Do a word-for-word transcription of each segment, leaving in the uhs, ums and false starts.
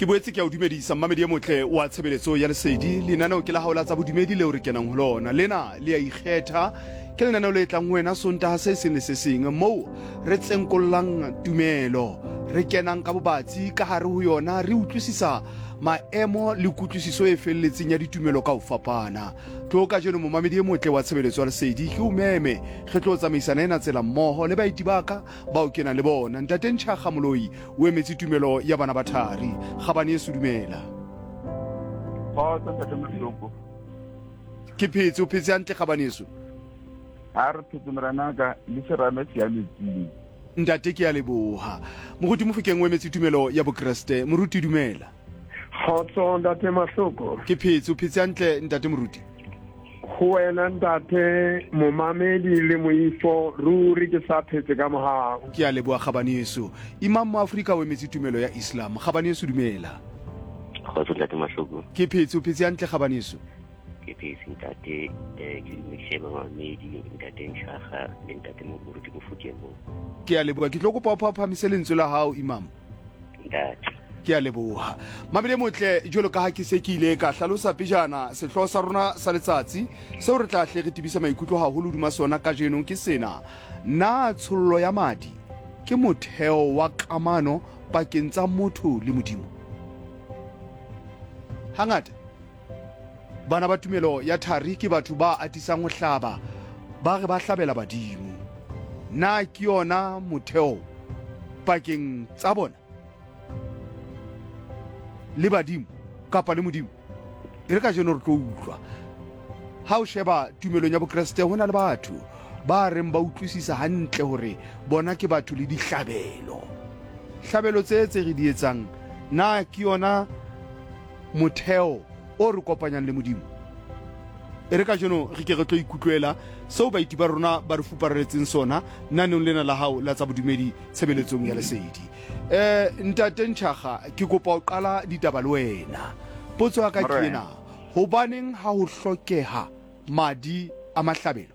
Ke boetse ke a o dumedisa mmamedi e motle wa tshebeletso ya Lesedi. Lenaneo ke la hao la tsa bodumedi leo re kenang ho lona. Lena le a ikgetha, ke lenaneo le tlang ho wena Sontaha se seng le se seng, moo re tsenkollang tumelo, re kenang ka bobatsi ka hare ho yona, re utlwisisa maemo le kutlwisiso e felletseng ya ditumelo ka ho fapana. Tlo kajeno momamedi e motle wa tshebeletso ya Lesedi, ke o meme, re tlo tsamaisana ena tsela mmoho le baeti ba ka bao ke nang le bona. Ntate Ntjhakga Moloi o emetse tumelo ya bana ba thari. Kgabane yeso, dumela. Kgotso, ntate Mohloko. Ke phetse, o phetse hantle kgabane yeso? Ha re phetse, morenaka, le serame se ya metsing. Ntate, ke a leboha. Moruti Mofokeng o emetse tumelo ya Bokreste. Moruti, dumela. Kgotso, ntate Mahloko. Ke phetse, o phetse hantle ntate moruti? Ho wena ntate, momamedi le moifo, ruri ke sa phetse ka mohau. Ke a leboha kgabane yeso. Imam mo Afrika o emetse tumelo ya Islam. Kgabane yeso, dumela. Kgotso, ntate Mahloko. Ke phetse, o phetse hantle kgabane yeso? Ke phetse, ntate. um ke dumedise bamamedi, ntate Ntšhaga le ntate moruti Mofokeng mo. Ke a leboha. Ke tlo kopa o phaphamise lentswe la hao, imam. Ntate. Ke a leboha. Mabele motle, jwalo ka ha ke se ke ile ka hlalosa pejana, sehlooho sa rona sa letsatsi seo re tla hle re tebisa maikutlo haholo hodima sona kajeno ke sena: na tshollo ya madi ke motheo wa kamano pakeng tsa motho le Modimo? Hangata bana ba tumelo ya thari ke batho ba atisang ho hlaba, ba re ba hlabela badimo. Na ke yona motheo pakeng tsa bona le badimo kapa le Modimo? E re kajeno re tlo utlwa. Ha o sheba tumelong ya Bokreste, ho na le batho ba reng ba utlwisisa hantle hore bona ke batho le dihlabelo. Hlabelo tse tse re di etsang, na ke yona motheo o re kopanyang le Modimo? E re kajeno re ke re tlo ikutlwela seo baeti ba rona ba re fupareletseng sona naneng lena la hao la tsa bodumedi tshebeletsong ya Lesedi. Eh ntate Ntšhaga, ke kopa ho qala ditaba le wena. Potso ya ka ke ena: hobaneng ha ho hlokeha madi a mahlabelo?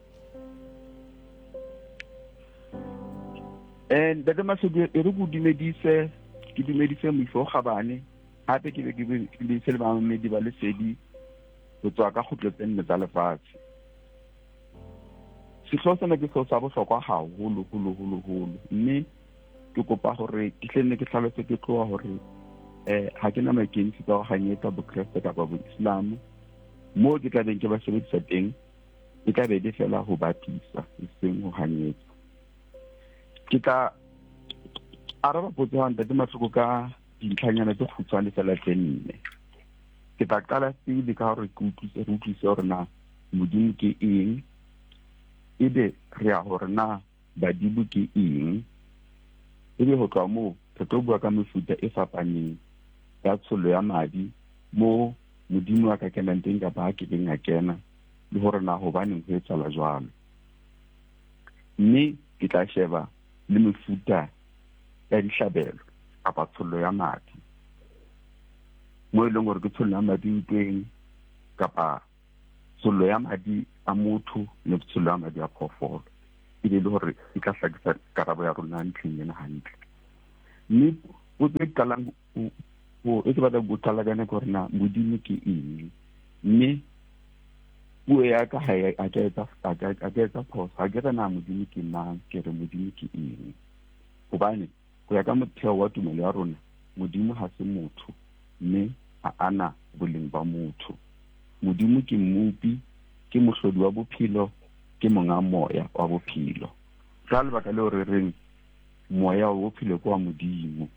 Eh ntate Mahloko, e re ke o dumedise, ke dumedise moifo kgabane, hape ke be ke dumedise le bamamedi ba Lesedi ho tswa ka kgutlo tse nne tsa lefatshe. Sehlooho sena ke sehlooho sa bohlokwa haholo holo holo holo, mme ke kopa hore ke hle nne ke hlalose ke tloha hore eh ha ke na maikemisetso a ho hanyetsa Bokreste kapa Boislamo. Moo ke tla beng ke ba sebedisa teng e tla be le fela ho bapisa, eseng ho hanyetsa. Ke tla araba potso ya ntate Mahloko ka dintlhanyana tse kgutshwane fela tse nne. Ke tla qala pele ka hore ke utlwise, re utlwise hore na Modimo ke eng, ebe re ya hore na badimo ke eng, ebe ho tloha moo re tlo bua ka mefuta e fapaneng ya tshollo ya madi, mo Modimo a ka kenang teng kapa a kekeng a kena, le hore na hobaneng ho etsahala jwalo. Mme ke tla sheba le mefuta ya dihlabelo kapa tshollo ya madi, mo e leng hore ke tshollo ya madi ntweng kapa tshollo ya madi a motho le tshollo ya madi a phoofolo, e be le hore e tla hlakisa karabo ya rona ntlheng ena hantle. Mme potso e qalang ho e ke batla ho qala ka yona ke hore na Modimo ke eng. Mme puo ya ka ha e a ka etsa a ka a ka etsa phoso, ha ke re na Modimo ke mang, ke re Modimo ke eng. Hobane ho ya ka motheo wa tumelo ya rona, Modimo ha se motho, mme ha ana boleng ba motho. Modimo ke mmopi, ke mohlodi wa bophelo, ke monga moya wa bophelo. Ka lebaka leo re reng moya wa bophelo ke wa Modimo.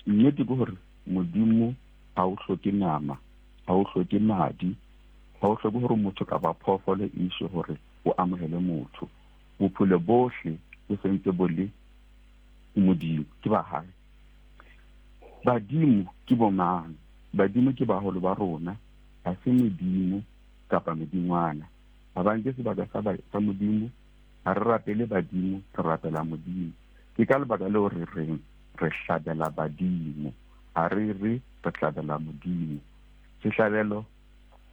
Nnete ke hore Modimo ha o hloke nama, ha o hloke madi, ha o hloke hore motho kapa phoofolo e iswe hore o amohele motho. Bophelo bohle bo sentse bo le Modimo, ke ba hae. Badimo ke bo mang? Badimo ke baholo ba rona, ha se medimo kapa medingwana. Ha ba nke sebaka sa sa Modimo, ha re rapele badimo, re rapela Modimo. Ke ka lebaka leo re reng re hlabela badimo, ha re re re hlabela Modimo. Sehlabelo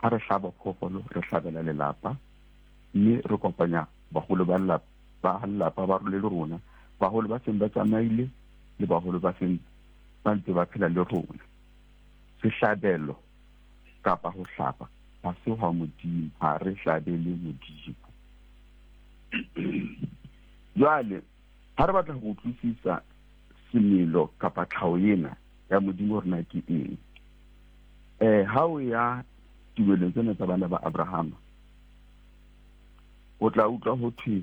ha re hlaba phoofolo, re hlabela lelapa, mme re kopanya baholo ba lelapa, ba lelapa ba le rona, baholo ba seng ba tsamaile le baholo ba seng ba ntse ba phela le rona. Sehlabelo kapa ho hlapa ha se hwa Modimo, ha re hlabele Modimo. Jwale ha re batla ho utlwisisa semelo kapa tlhaho ena ya Modimo hore na ke eng, eh ha o ya tumelong tsena tsa bana ba Abrahama, o tla utlwa ho thwe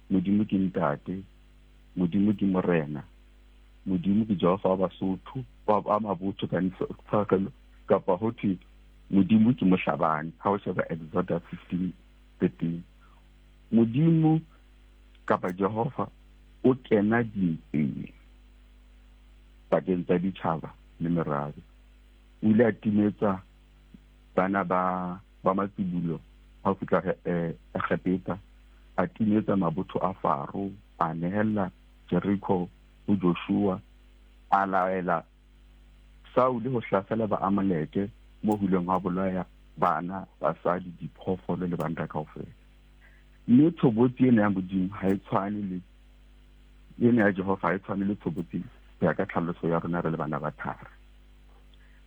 Modimo ke ntate, Modimo ke morena, Modimo ke Jehova wa Basotho, wa mabotho ka kapa ho thwe Modimo ke mohlabani. Ha o sheba Exodus fifteen thirteen, Modimo kapa Jehova o kena dintweng pakeng tsa ditjhaba le merabe. O ile a timetsa bana ba ba matsibulo ha o fihla Egepeta, a timetsa mabotho a Faro, a nehella Jericho ho Joshua, a laela Saule ho hlasela ba Amaleke mo ho ileng ha bolaya bana, basadi, diphoofolo le banna kaofela. Mme tshobotsi ena ya Modimo ha e tshwane le ena ya Jehova, ha e tshwane le tshobotsi ya ka tlhaloso ya rona re le bana ba thari.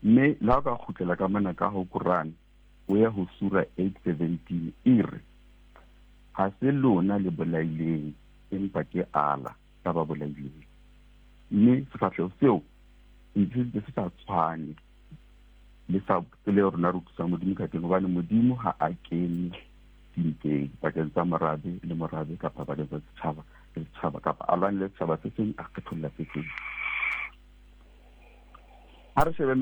Mme le ha o ka kgutlela ka mona ka ho Quran, o ya ho Sura eight seventeen, e re ha se lona le bolaileng, empa ke Allah ka ba bolaileng. Mme sefahleho seo ntse se sa tshwane le sa tsela eo rona re utlwisang Modimo ka teng, hobane Modimo ha a kene dintweng pakeng tsa morabe le morabe kapa pakeng tsa setjhaba le setjhaba, kapa a lwane le setjhaba se seng a kgetholla se seng. Ha re shebe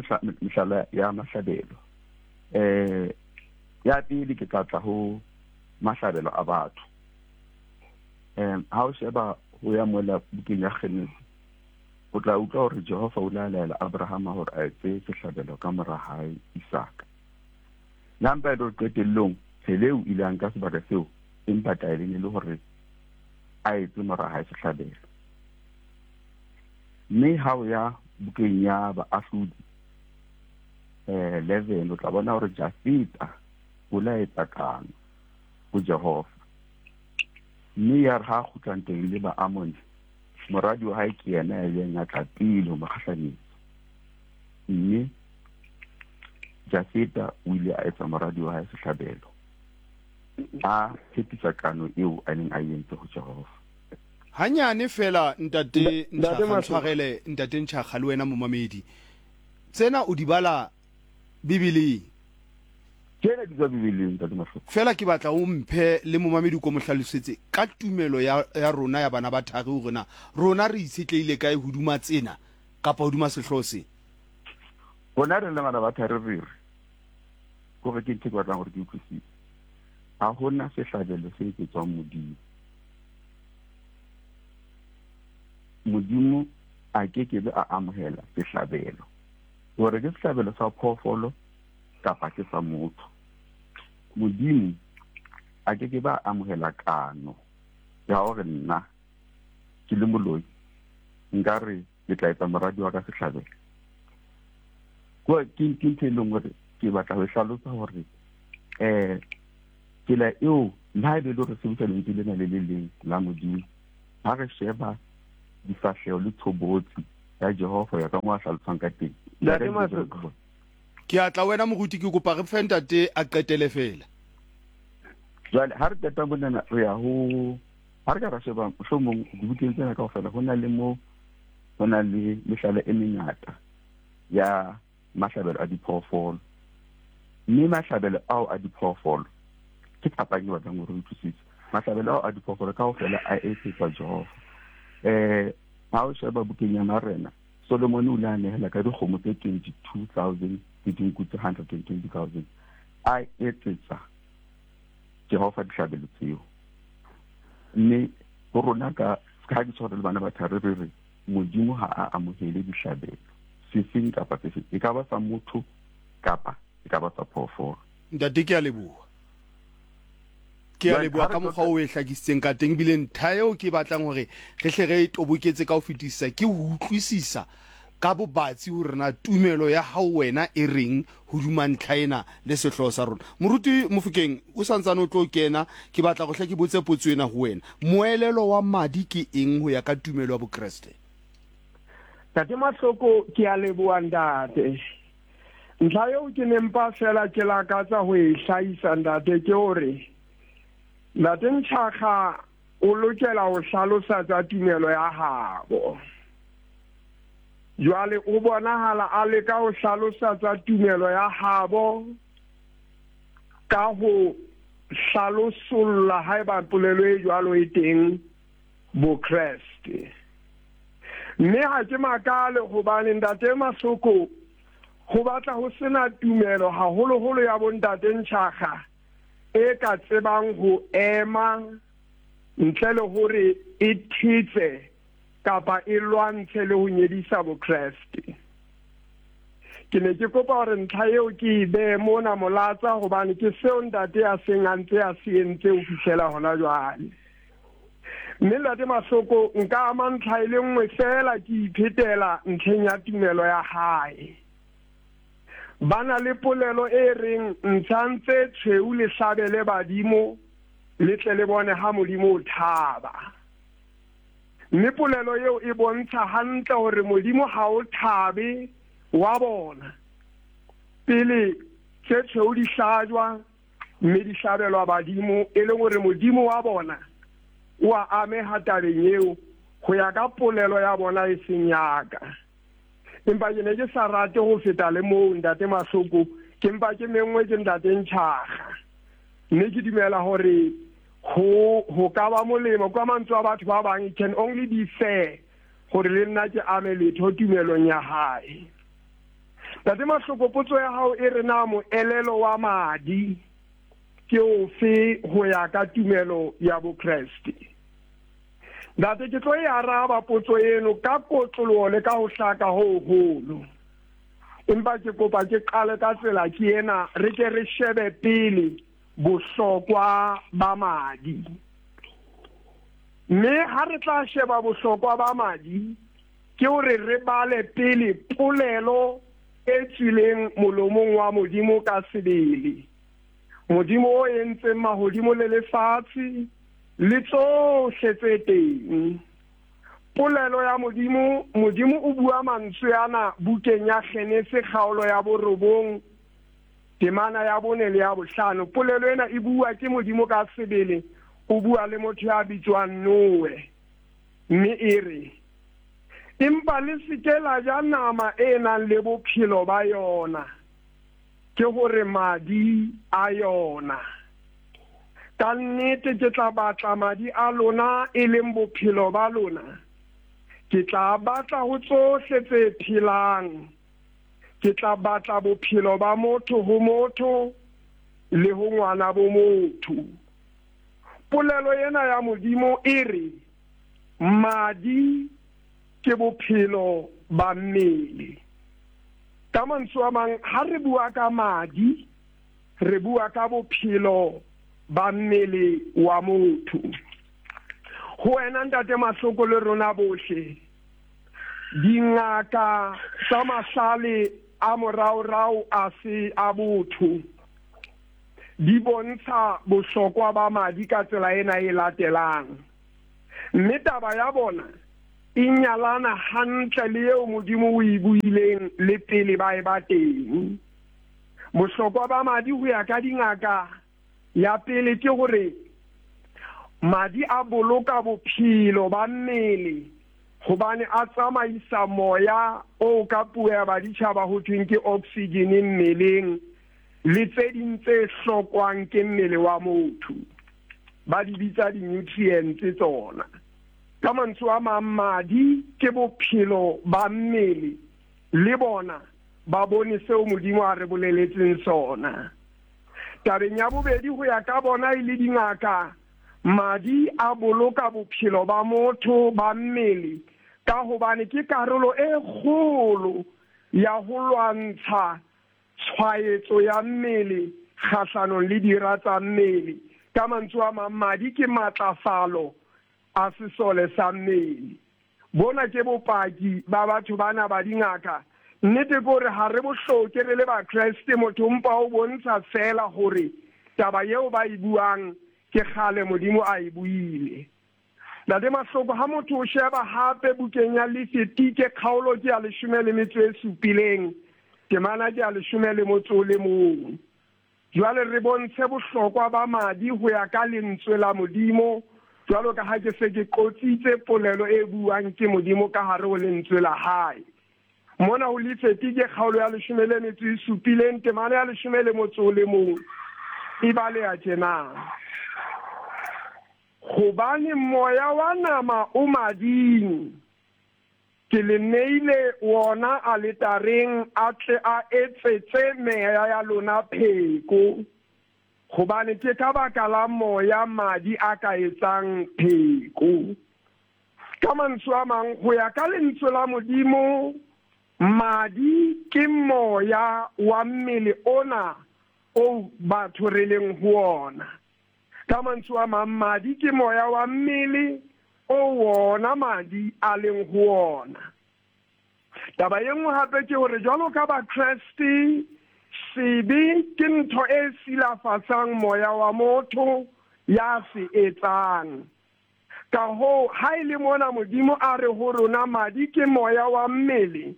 mehlala ya mahlabelo, eh ya pele ke tla tla ho mahlabelo a batho. Em ha o sheba ho ya mola bukeng ya Genesis, o tla utlwa hore Jehova o la laela Abrahama hore a etse sehlabelo ka mora hae Isaka. Le mpa e le qetellong Pheleu ile a nka sebaka seo, empa taelo e le hore a etse mora hae sehlabelo. Mme ha o ya bukeng ya Baahlodi eh eleven, o tla bona hore Jafeta o la etsa kano ho Jehova. Mme ya re ha kgutla ntweng le Baamone, moradi wa hae ke yena ya ileng a tla pele ho mo kgahlanyetsa. Mme Jafeta o ile a etsa moradi wa hae sehlabelo, a tshepisa kano eo a neng a entse ho Jehova. Hanyane fela ntate Ntshwarele, tshwarele ntate Ntshakga le wena momamedi, tsena o di bala Bibeleng? Tsena di tswa Bibeleng, ntate Mahloko. Fela ke batla o mphe le momamedi ko mo hlalosetse ka tumelo ya ya rona ya bana ba thari hore na rona re itshetleile kae hoduma tsena kapa hoduma sehlooho se. Rona re le bana ba thari re re gore ke ntho ke batlang hore ke utlwisise. Ha hona sehlabelo se etsetswang Modimo. Modimo a ke ke be a amohela sehlabelo, hore ke sehlabelo sa phoofolo kapa ke sa motho. Modimo a ke ke ba amohela kano ya hore nna ke le moloi nka re ke tla etsa moradi wa ka sehlabelo. Kwa ke ke ntho e leng hore ke batla ho hlalosa hore eh tsela eo le ha ebe le hore sebedisa lentswe lena le le leng la Modimo, ha re sheba difahleho le tshobotsi ya Jehova ya ka mo a hlalosang ka teng. Ntate Mahloko, ke a tla wena moruti, ke kopa re fe ntate a qetele fela. Jwale ha re qeta monana re ya ho ha re ka ra sheba mohlomong dibukeng tsena kaofela ho na le mo ho na le mehlala e mengata ya mahlabelo a diphoofolo. Mme mahlabelo ao a diphoofolo ke phapang e batlang hore re utlwisise. Mahlabelo ao a diphoofolo kaofela a etsetswa Jehova. Eh ha o sheba bukeng ya Marena, Solomon o ile a nehela ka dikgomo tse twenty-two thousand le dinku tse hundred and twenty thousand, a etsetsa Jehova dihlabelo tseo. Mme ho rona ka ha ke tshware le bana ba thari re re Modimo ha a amohele dihlabelo sefeng kapa sefeng, e ka ba sa motho kapa e ka ba sa phoofolo. Ntate ke a leboha. Ke a leboha ka mokgwa o e hlakisitseng ka teng, ebile ntlha eo ke batlang hore re hle re e toboketse ka ho fetisisa ke ho utlwisisa ka bobatsi hore na tumelo ya hao wena e reng hoduma ntlha ena le sehlooho sa rona. Moruti Mofokeng, o santsane o tlo kena, ke batla go hle ke botse potso ena ho wena. Moelelo wa madi ke eng ho ya ka tumelo ya Bokreste? Ntate Mahloko, ke a leboha ntate. Ntlha eo ke ne mpa fela ke lakatsa ho e hlahisa ntate ke hore Ntate Ntshakga o lokela ho hlalosa tsa tumelo ya habo. Jwale o bonahala a leka ho hlalosa tsa tumelo ya habo ka ho hlalosolla haeba polelo e jwalo e teng Bokreste. Mme ha ke makale hobane ntate Mahloko ho batla ho sena tumelo haholoholo ya bontate Ntshakga e ka tsebang ho ema ntle le hore e thetse kapa e lwantshe le ho nyedisa Bokreste. Ke ne ke kopa hore ntlha eo ke e behe mona molatsa hobane ke seo ntate a seng a ntse a se entse ho fihlela hona jwale. Mme ntate Mahloko nka ama ntlha e le nngwe fela ke iphetela ntlheng ya tumelo ya hae. Ba na le polelo e reng ntshang tse tshweu le hlabele badimo le tle le bone ha Modimo o thaba. Mme polelo eo e bontsha hantle hore Modimo ha o thabe wa bona pele tse tshweu di hlajwa mme di hlabelwa badimo, e leng hore Modimo wa bona o a ameha tabeng eo ho ya ka polelo ya bona e seng ya ka. Empa ke ne ke sa rate ho feta le moo ntate Mahloko, ke mpa ke menngwe ke ntate Ntshakga. Mme ke dumela hore ho ho ka ba molemo ka mantswe a batho ba bang, it can only be fair hore le nna ke ame letho tumelong ya hae. Ntate Mahloko, potso ya hao e re na moelelo wa madi ke ofe ho ya ka tumelo ya Bokreste? Ntate, ke tlo e araba potso eno ka kotloloho le ka ho hlaka ho hoholo. Empa ke kopa ke qale ka tsela ke ena, re ke re shebe pele bohlokwa ba madi. Mme ha re tla sheba bohlokwa ba madi, ke hore re bale pele polelo e tswileng molomong wa Modimo ka sebele. Modimo o entseng mahodimo le lefatshe le tsohle tse teng. Polelo ya Modimo, Modimo o bua mantswe ana bukeng ya Genese kgaolo ya borobong temana ya bone le ya bohlano. Polelo ena e bua ke Modimo ka sebele, o bua le motho ya bitswang Noe. Mme e re, empa le se ke la ja nama e nang le bophelo ba yona, ke hore madi a yona. Ka nnete ke tla batla madi a lona e leng bophelo ba lona. Ke tla batla ho tsohle tse phelang. Ke tla batla bophelo ba motho ho motho le ho ngwana bo motho. Polelo ena ya Modimo e re madi ke bophelo ba mmele. Ka mantswe a mang, ha re bua ka madi, re bua ka bophelo ba mmele wa motho. Ho wena ntate Mahloko le rona bohle, dingaka tsa mahlale a moraorao a se a botho di bontsha bohlokwa ba madi ka tsela ena e latelang. Mme taba ya bona e nyalana hantle le eo Modimo o e buileng le pele ba e ba teng. Bohlokwa ba madi ho ya ka dingaka ya pele ke hore madi a boloka bophelo ba mmele hobane a tsamaisa moya o ka puo ya baditjhaba ho thweng ke oxygen mmeleng le tse ding tse hlokwang ke mmele wa motho, ba di bitsa di-nutrients tsona. Ka mantswe a mang, madi ke bophelo ba mmele, le bona ba bone seo Modimo a re boleletseng sona. Tabeng ya bobedi, ho ya ka bona e le dingaka, madi a boloka bophelo ba motho ba mmele ka hobane ke karolo e kgolo ya ho lwantsha tshwaetso ya mmele kgahlanong le dira tsa mmele. Ka mantswe a mang, madi ke matlafalo a sesole sa mmele. Bona ke bopaki ba batho bana ba dingaka. Nnete ke hore ha re bo hloke re le Bakreste, motho mpa o bontsha fela hore taba eo ba e buang ke kgale Modimo a e buile. Ntate Mahloko, ha motho o sheba hape bukeng ya Lefitike kgaolo ke ya leshome le metso e supileng Temana ke ya leshome le motso o le mong. Jwale re bontshe bohlokwa ba madi ho ya ka lentswe la Modimo, jwalo ka ha ke se ke qotsitse polelo e buang ke Modimo ka hare ho lentswe la hae. Mona ho Lefitike kgaolo ya leshome le metso e supileng, temana ya leshome le motso o le mong, e baleha tjena. Hobane moya wa nama o mading, ke le neile wona aletareng a tle a etsetse meya ya lona pheko, hobane ke ka baka la moya madi a ka etsang pheko. Ka mantswe a mang, ho ya ka lentswe la Modimo, madi ke moya wa mmele ona o batho re leng ho ona. Ka mantswe a mang, madi ke moya wa mmele o wona madi a leng ho ona. Taba e nngwe hape ke hore jwalo ka Bakreste, sebe ke ntho e silafatsang moya wa motho ya se etsang. Ka hoo, ha e le mona Modimo a re ho rona madi ke moya wa mmele,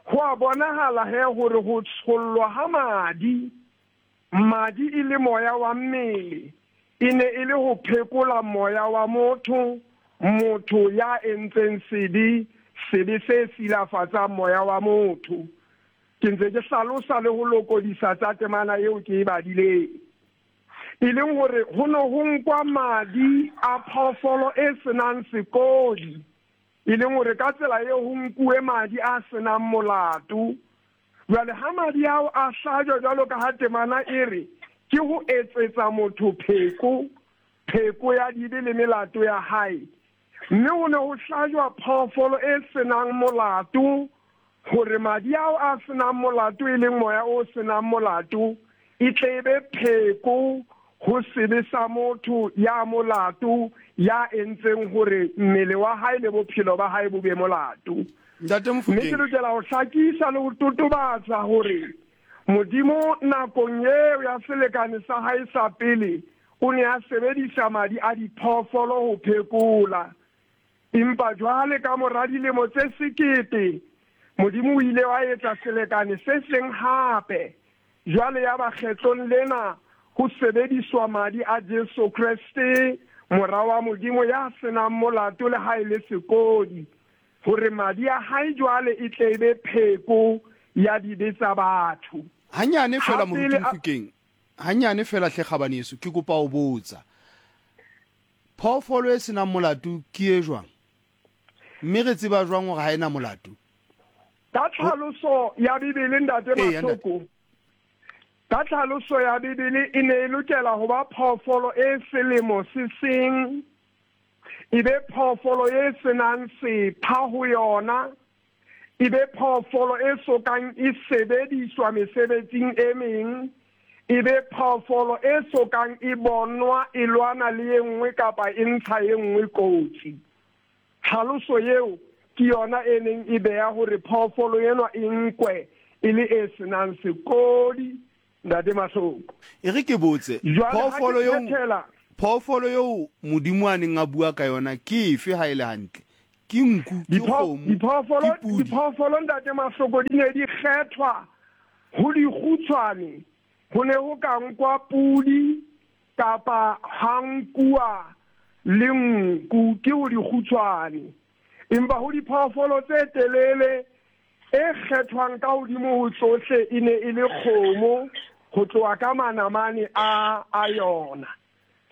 ho a bonahala he hore ho tshollwa ha madi, madi e le moya wa mmele, e ne e le ho phekola moya wa motho, motho ya entseng sebe, sebe se silafatsang moya wa motho. Ke ntse ke hlalosa le ho lokodisa tsa temana eo ke e badileng. E leng hore ho ne ho nkwa madi a phoofolo e senang sekodi, e leng hore ka tsela eo ho nkuwe madi a senang molato. Jwale ha madi ao a hlajwa jwalo ka ha temana e re, ke ho etsetsa motho pheko, pheko ya dibe le melato ya hae. Mme ho ne ho hlajwa phoofolo e senang molato, hore madi ao a senang molato, e leng moya o senang molato, e tle e be pheko ho sebe sa motho ya molato, ya entseng hore mmele wa hae le bophelo ba hae bo be molato. Ntate Mme Mofokeng. ke lokela ho hlakisa le ho totobatsa hore Modimo nakong eo ya selekane sa hae sa pele o ne a sebedisa madi a diphoofolo ho phekola. Empa jwale ka mora dilemo tse sekete, Modimo o ile wa etsa selekane se seng hape. Jwale ya ba kgetlong lena ho sebediswa madi a Jesu Kreste, mora wa Modimo ya senang molato le ha e le sekodi, hore madi a hae jwale e tle e be pheko ya dibe tsa batho. Hanyane fela Ha Moruti pele a- Mofokeng, hanyane fela hle kgabaneso, ke kopa ho botsa. Phoofolo e senang molato ke e jwang? Mme re tseba jwang hore ha ena molato? Ka tlhaloso ya Bibele, Ntate Eya, ntate. Mahloko, ka tlhaloso ya Bibele e ne e lokela ho ba phoofolo e selemo se seng, e be phoofolo e senang sepha ho yona, e be phoofolo e sokang e sebediswa mesebetsing e meng, e be phoofolo e sokang e bonwa e lwana le e nngwe kapa e ntsha e nngwe kotsi. Tlhaloso eo ke yona e neng e beha hore phoofolo enwa e nkwe e le e senang sekodi, Ntate Mahloko. E re ke botse, Jwale ha ke phoofolo eo, phethela, phoofolo eo Modimo a neng a bua ka yona ke efe ha e le hantle? Ke nku, ke dipho- kgomo, diphoofolo ke pudi? diphoofolo Ntate Mahloko di ne di kgethwa ho dikgutshwane. Ho ne ho ka nkwa pudi kapa ha nkuwa le nku, ke ho dikgutshwane. Empa ho diphoofolo tse telele e kgethwang ka hodimo ho tsohle e ne e le kgomo, ho tloha ka manamane a, a yona.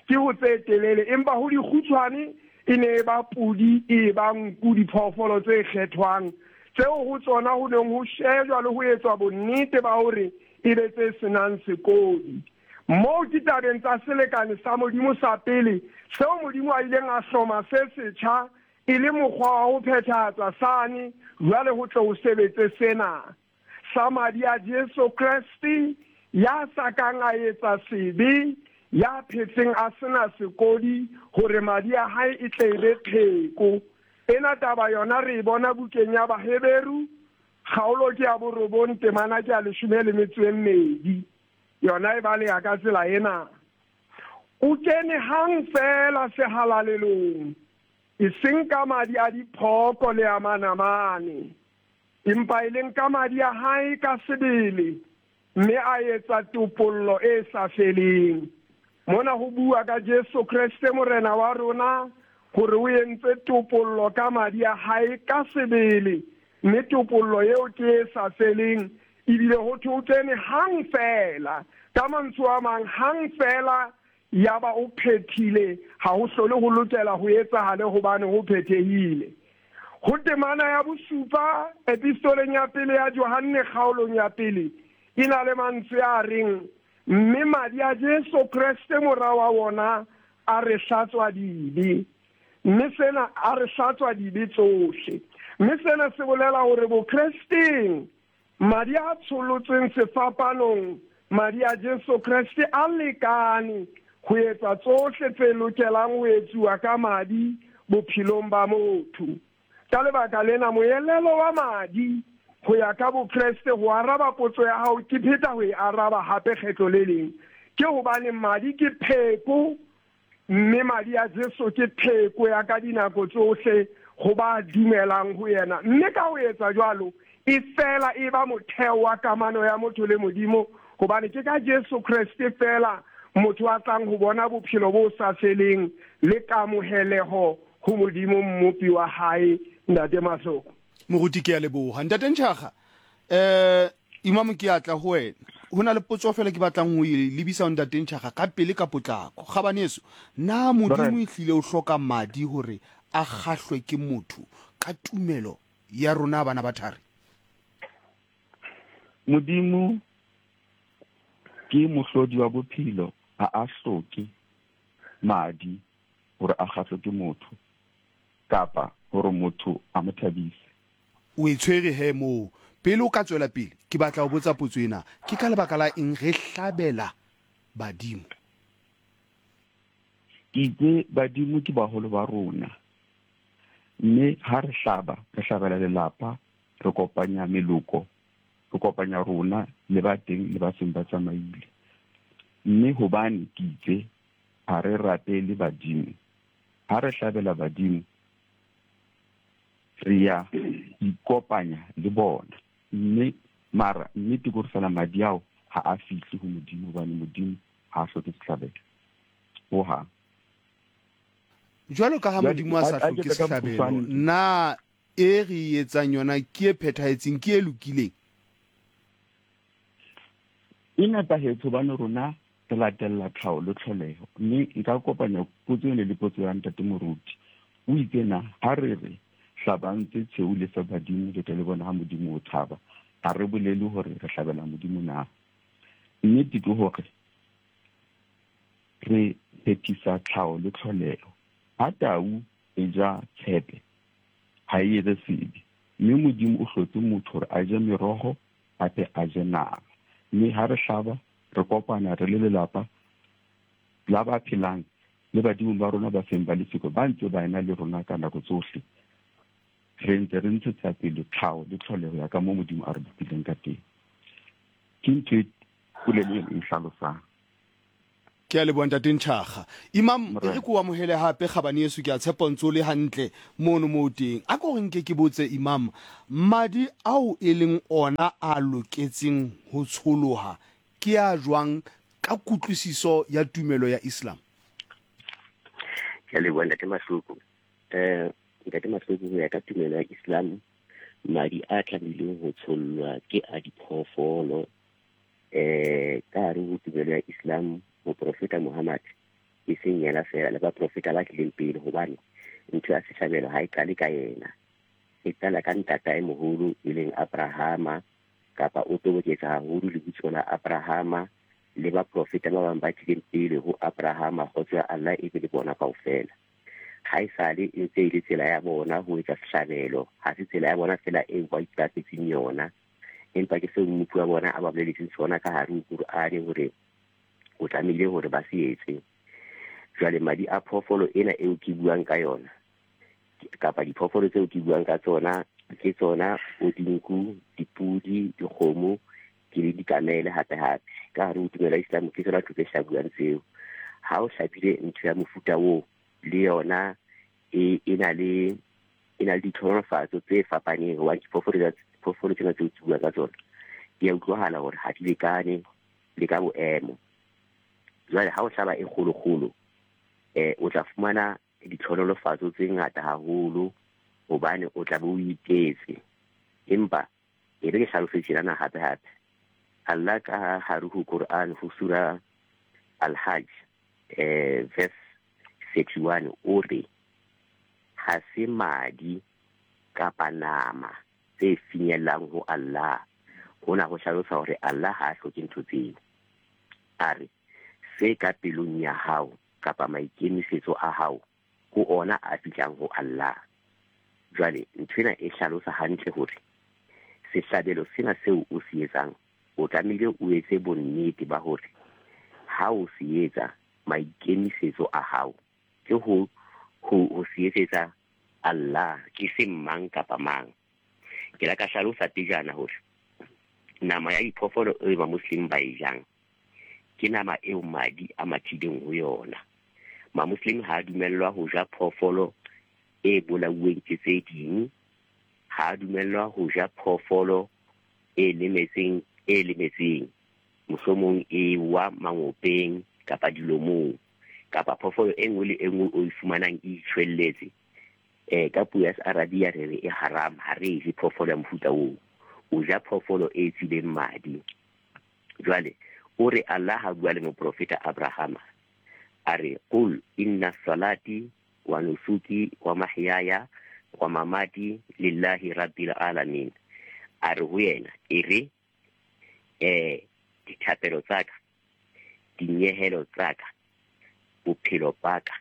Ke ho tse telele, empa ho dikgutshwane e ne e ba pudi, e ba nku, diphoofolo tse kgethwang tseo ho tsona ho neng ho shejwa le ho etswa bonnete ba hore e be tse senang sekodi. Moo ke tabeng tsa selekane sa Modimo sa pele, seo Modimo a ileng a hloma se setjha e le mokgwa wa ho phethahatsa sane, jwale ho tle ho sebetse sena sa madi a Jesu Kreste, ya sa kang a etsa sebe, ya phetseng a sena sekodi, hore madi a hae e tle e be pheko. Ena taba yona re e bona bukeng ya Baheberu, kgaolo ke ya borobong, temana ke ya leshome le metso e mmedi. Yona e baleha ka tsela ena. O kene hang fela sehalalelong, e seng ka madi a diphooko le a manamane, Empa e leng ka madi a hae ka sebele, mme a etsa topollo e sa feleng. Mona ho bua ka Jesu Kreste Morena wa rona, hore o entse topollo ka madi a hae ka sebele, mme topollo eo ke e sa feleng, ebile ho thwe o kene hang fela. Ka mantswe a mang, hang fela yaba o phethile, ha ho hlole ho lokela ho etsahale hobane ho phethehile. Ho temana ya bosupa epistoleng ya pele ya Johanne kgaolong ya pele, e na le mantswe a reng, mme madi a Jesu Kreste mora wa wona a re hlatswa dibe. Mme sena a re hlatswa dibe tsohle. Mme sena se bolela hore bokresteng madi a tsholotsweng sefapanong, madi a Jesu Kreste a lekane ho etsa tsohle tse lokelang ho etsuwa ka madi bophelong ba motho. Ka lebaka lena moelelo wa madi ho ya ka bokreste, ho araba potso ya hao, ke pheta ho e araba hape kgetlo le leng, ke hobane madi ke pheko, mme madi a Jesu ke pheko ya ka dinako tsohle ho ba dumelang ho yena. Mme ka ho etsa jwalo, e fela e ba motheo wa kamano ya motho le Modimo, hobane ke ka Jesu Kreste fela motho a tlang ho bona bophelo bo sa feleng le kamoheleho ho Modimo mmopi wa hae. Ntate Mahloko. Moruti, ke a leboha. Ntate Ntjhaga, eh Imam ke atla ho wena. Ho na le potso fela ke batlang ho e lebisa ho Ntate Ntjhaga ka pele ka potlako. Kgabaneso, na Modimo e hlile o hloka madi hore a kgahlwe ke motho ka tumelo ya rona bana ba thari? Modimo ke mohlodi wa bophelo, ha a hloke madi hore a kgahlwe ke motho kapa hore motho a mo thabise. O e tshwere he moo. Pele o ka tswela pele, ke batla ho botsa potso ena. Ke ka lebaka la eng re hlabela badimo? Ke itse badimo ke baholo ba rona. Mme ha re hlaba, re hlabela lelapa, re kopanya meloko, re kopanya rona le ba teng le ba seng ba tsamaile. Mme hobane ke itse ha re rapele badimo, ha re hlabela badimo, re ya ikopanya le bona. Mme mara nnete ke hore fela madi ao ha a fihle ho Modimo, hobane Modimo ha a hloke sehlabelo hohang. Jwalo ka ha Modimo a sa hloke sehlabelo, na e re e etsang yona ke e phethahetseng, ke e lokileng? E nepahetse hobane rona re latella tlhaho le tlholeho. Mme nka kopanya potso ena le potso ya Ntate Moruti. O itse na ha re re hlabang tse tshweu le fe badimo, le tle le bona ha Modimo o thaba, ha re bolele hore re hlabela Modimo na. Nnete ke hore re phethisa tlhaho le tlholeho. Ha tau e ja tshepe, ha e etse sebe. Mme Modimo o hlotse motho hore a je meroho, hape a je nama. Mme ha re hlaba, re kopana re le lelapa la ba phelang le badimo ba rona ba seng ba le siko, ba ntse ba ena le rona ka nako tsohle. Re ntse re ntshetsa pele tlhaho le tlholeho ya ka moo Modimo a re bopileng ka teng. Ke ntho e polelo e hlalosang. Ke a leboha Ntate Ntjhaga. Imam, e re ke o amohele hape Kgabaneso, ke a tshepa ntse o le hantle mono moo teng. A ko re nke ke botse Imam, madi ao e leng ona a loketseng ho tsholoha ke a jwang ka kutlwisiso ya tumelo ya Islam? Ke a leboha Ntate Mahloko. Eh Ntate Mahloko, ho ya ka tumelo ya Islam, madi a tlamehileng ho tshollwa ke a diphoofolo. Eh ka hare ho tumelo ya Islam, moprofeta Muhammad e seng yena fela, le baprofeta ba tlileng pele, hobane ntho ya sehlabelo ha e qale ka yena, e qala ka ntatae moholo e leng Abrahama, kapa o toboketsa haholo lebitso la Abrahama le baprofeta ba bang ba tlileng pele ho Abrahama, kgotso ya Allah e be le bona kaofela. Ha e sale e ntse e le tsela ya bona ho etsa sehlabelo, ha se tsela ya bona fela eo ba iqapetseng yona, empa ke seo mmupi wa bona a ba boleletseng sona ka hare ho Qur'ane hore o tlamehile hore ba se etse. Jwale madi a phoofolo ena eo ke buang ka yona, kapa diphoofolo tseo ke buang ka tsona, ke tsona bo dinku, dipudi, dikgomo, ke le dikamele hape hape. Ka hare ho tumelo ya Islam ke tsona ntho tse hlabuwang tseo. Ha o hlabile ntho ya mofuta oo, le yona e e na le e na le ditlhohonolofatso tse fapaneng, hobane diphoofolo Diphoofolo tsena tseo ke bua ka tsona di a utlwahala hore ha di lekane le ka boemo. Jwale ha o hlaba e kgolokgolo, eh o tla fumana ditlhonolofatso tse ngata haholo hobane o tla be o itetse. Empa e re ke hlalose tjenana hape hape. Allah ka hare ho Quran ho sura Al-Hajj eh verse thirty-one o re ha se madi kapa nama tse finyellang ho Allah. Hona ho hlalosa hore Allah ha a hloke ntho tseo. A re se ka pelong ya hao kapa maikemisetso a hao ho ona a fihlang ho Allah. Jwale ntho ena e hlalosa hantle hore sehlabelo sena seo o se etsang o tlamehile o etse bonnete ba hore ha o se etsa maikemisetso a hao ke ho ho ho se etsetsa Allah, ke se mang kapa mang. Ke la ka hlalosa pejana hore nama ya diphoofolo e ba Muslim ba e jang ke nama eo madi a mathileng ho yona. Ma-Muslim ha a dumellwa ho ja phoofolo e bolauweng ke tse ding, ha a dumellwa ho ja phoofolo e lemetseng e lemetseng mohlomong e wa mangopeng kapa dilomong, kapa phoofolo e nngwe le e nngwe o e fumanang e itjhwelletse. Eh ka puo ya Searabia re re e haram, ha re je phoofolo ya mofuta oo. O ja phoofolo e tswileng madi. Jwale o re Allah ha bua le moprofeta Abrahama a re qul inna salati wa nusuki wa mahyaya wa mamati lillahi rabbil alamin. A re ho yena e re eh dithapelo tsa ka, dinyehelo tsa ka, bophelo ba ka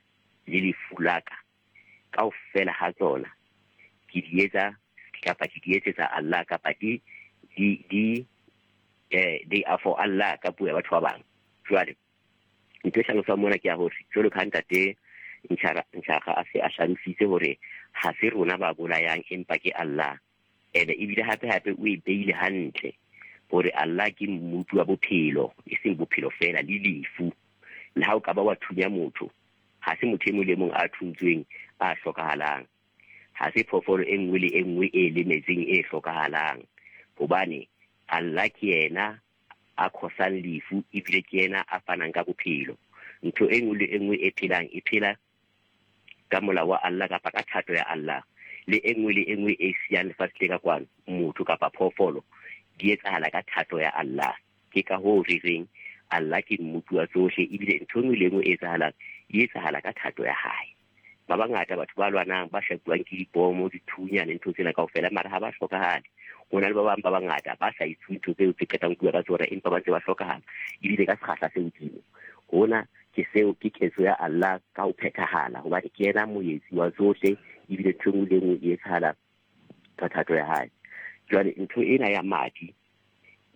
le lefu la ka kaofela ha tsona ke di etsa kapa ke di etsetsa Allah, kapa di di di eh they are for Allah ka puo ya batho ba bang. Jwale ntho e hlalosang mona ke ya hore jwalo ka ntate Ntjhara a se a hlalositse hore ha se rona ba bolayang empa ke Allah. Ene ebile hape hape o e beile hantle hore Allah ke mmupi wa bophelo, e seng bophelo fela le lefu. Le ha o ka ba wa thunya motho, ha se motho e mong le mong a thuntsweng a hlokahalang. Ha se phoofolo e nngwe le e nngwe e lemetseng e hlokahalang, hobane Allah ke yena a khosang lefu ebile ke yena a fanang ka bophelo. Ntho e nngwe le e nngwe e phelang e phela ka molao wa Allah kapa ka thato ya Allah. Le e nngwe le e nngwe e siyang lefatshe le ka kwano, motho kapa phoofolo, di etsahala ka thato ya Allah. Ke ka hoo re reng Allah ke mmupi wa tsohle, ebile ntho e nngwe le e nngwe e etsahalang e etsahala ka thato ya hae. Ba bangata batho ba lwanang ba shapuwang ke dibomo, dithunya le ntho tsena kaofela, mara ha ba hlokahale. Ho na le ba bang ba bangata ba sa itse ntho tseo tse qetang ho bua ka tsona, empa ba ntse ba hlokahala ebile ka sekgahla se hodimo. Hona ke seo ke ketso ya Allah ka ho phethahala, hobane ke yena moetsi wa tsohle ebile ntho e nngwe le e nngwe e etsahala ka thato ya hae. Jwale ntho ena ya madi,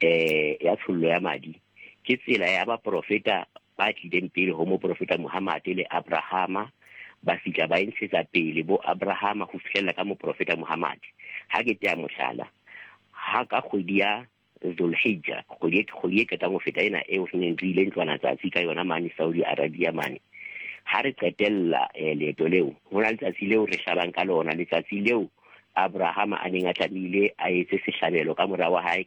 eh ya tshollo ya madi, ke tsela ya baprofeta ba tlileng pele ho moprofeta Muhammad le Abrahama, ba fihla ba e ntshetsa pele bo Abrahama ho fihlella ka moprofeta Muhammad. Ha ke tea mohlala, ha ka kgwedi ya Zulhijja, kgwedi kgwedi e qetang ho feta ena eo re neng re ile ntlwana tsatsi ka yona mane Saudi Arabia mane, ha re qetella leeto leo, ho na letsatsi leo re hlabang ka lona, letsatsi leo Abrahama a neng a tlamehile a etse sehlabelo ka mora wa hae ka